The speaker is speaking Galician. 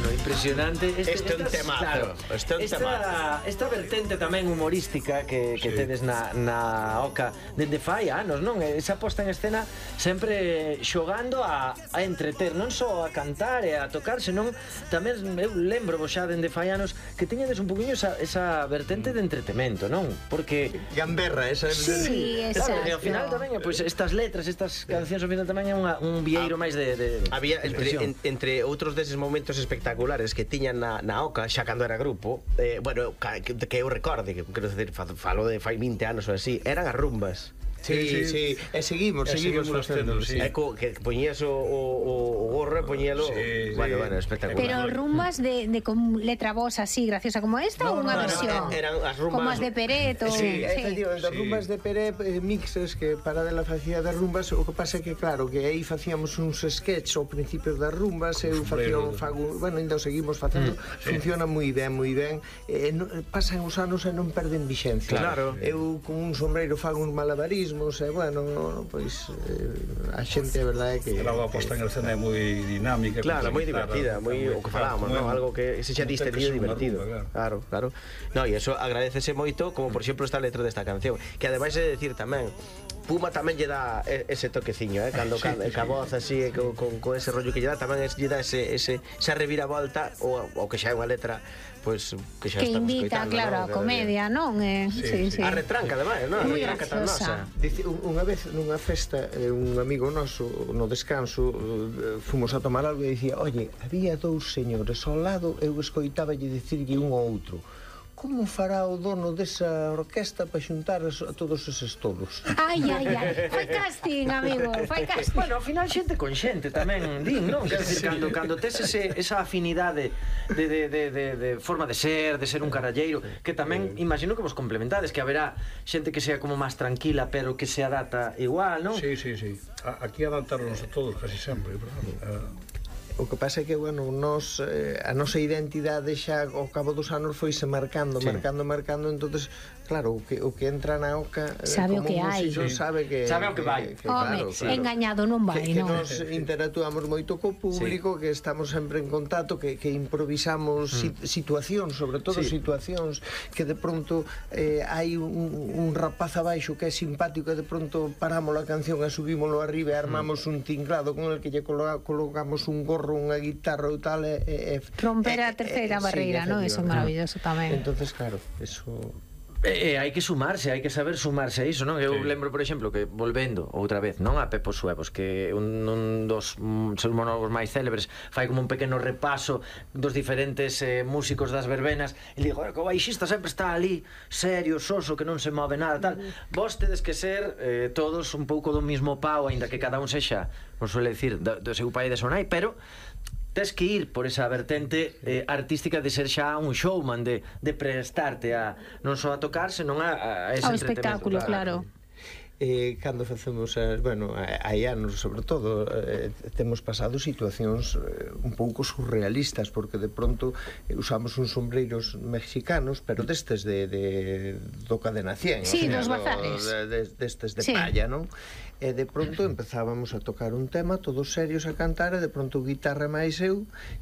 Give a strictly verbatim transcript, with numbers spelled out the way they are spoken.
Bueno, impresionante. Este, este é un temazo. Claro, este é un esta, temazo. Esta vertente tamén humorística que, que sí. tedes na, na Oca dende fai anos, non? Esa posta en escena sempre xogando a, a entreter, non só a cantar e a tocar, senón tamén eu lembro vos xa dende fai anos que tiñedes un poquinho esa, esa vertente de entretemento, non? Porque... Gamberra, esa... Sí, exacto. Claro, e ao final tamén, pois, pues, estas letras, estas cancións ao final tamén é unha, un vieiro ah, máis de, de había, entre, en, entre outros deses momentos espectaculares que tiñan na, na Oca, xa cando era grupo, eh, bueno, que, que eu recorde, que quero decir, falo de fai vinte anos ou así, eran as rumbas. Sí, sí, sí, e seguimos, e seguimos facendo, sí. É co, que poñías o, o, o gorro, poñíalo, sí, bueno, sí. bueno, espectacular. Pero rumbas de, de con letra voz así, graciosa como esta, no, ou unha no, versión? No, eran as rumbas... Como as de Peret, ou... Sí, sí. efectivamente, as sí. rumbas de Peret, eh, mixes, que para dela facía das rumbas, o que pasa é que, claro, que aí facíamos uns sketches ao principio das rumbas, eu facía un fago, bueno, ainda o seguimos facendo, mm, funciona sí. moi ben, moi ben, eh, no, pasan os anos e non perden vixencia. Claro. Eu con un sombreiro fago uns malabarismos, e, bueno, pois eh, a xente, a verdade é que... Pero a posta en escena é moi dinámica. Claro, moi divertida, moi o que falamos, non? Algo que se xa distendido e divertido. Claro, claro. No, e eso agradecese moito, como por exemplo esta letra desta canción, que ademais é decir tamén, Puma tamén lle dá ese toqueciño, eh, cando sí, ca, sí, ca voz así, sí, con, con, con ese rollo que lle dá, tamén es, lle dá ese, ese, esa reviravolta, o, o que xa é unha letra, pois, que xa que estamos invita, claro, a comedia, non? Eh, sí, sí, sí. A retranca, ademais, non? Moi a retranca tan nosa. Dice, unha vez nunha festa, un amigo noso, no descanso, fomos a tomar algo e dicía, oye, había dous señores ao lado, eu escoitáballe dicirlle un ao outro, como fará o dono desa orquesta para xuntar a todos eses tolos? Ai, ai, ai, fai casting, amigo, fai casting. Bueno, ao final xente con xente tamén, din, non? Quer dizer, cando, cando tes ese, esa afinidade de, de, de, de, de forma de ser, de ser un caralleiro, que tamén, imagino que vos complementades, que haberá xente que sea como máis tranquila, pero que se adapta igual, non? Sí, sí, sí. Aquí adaptaronnos a todos casi sempre, pero... O que pasa é que, bueno, nos, eh, a nosa identidade xa ao cabo dos anos foise marcando, sí. marcando, marcando, entonces, claro, o que, o que entra na Oca sabe o que hai, sí. sabe que sabe o que vai. Que, que, Home, claro, claro. engañado non vai, que, que non? nos interactuamos moito co público, sí. que estamos sempre en contacto, que, que improvisamos mm. situacións, sobre todo sí. situacións que de pronto eh, hai un, un rapaz abaixo que é simpático e de pronto paramos a canción e subímoslo arriba e armamos mm. un tinglado con el que lle colocamos un gorro, unha guitarra ou tal e, e, romper a terceira e, barreira, sí, non? Eso é maravilloso tamén. Entonces, claro, eso... E, e hai que sumarse, hai que saber sumarse a iso, non? Eu sí. lembro, por exemplo, que volvendo outra vez, non? A Pepo Suevos, que un, un dos um, seus monólogos máis célebres fai como un pequeno repaso dos diferentes eh, músicos das verbenas e digo, que o baixista sempre está ali serio, soso, que non se move nada, tal. Mm. Vos tedes que ser eh, todos un pouco do mismo pau, aínda que cada un sexa, non suele dicir, do, do seu pai e de seu nai, pero tes que ir por esa vertente eh, artística de ser xa un showman, de, de prestarte a non só a tocar, senón a, a ese ao espectáculo, claro, claro. Eh, cando facemos as, bueno, hai anos sobre todo eh, temos pasado situacións eh, un pouco surrealistas, porque de pronto eh, usamos uns sombreiros mexicanos, pero destes de, de do Cadena cien, sí, o sea, dos bazares de, de, destes de sí. palla, non? E de pronto empezábamos a tocar un tema todos serios a cantar e de pronto guitarra máis eu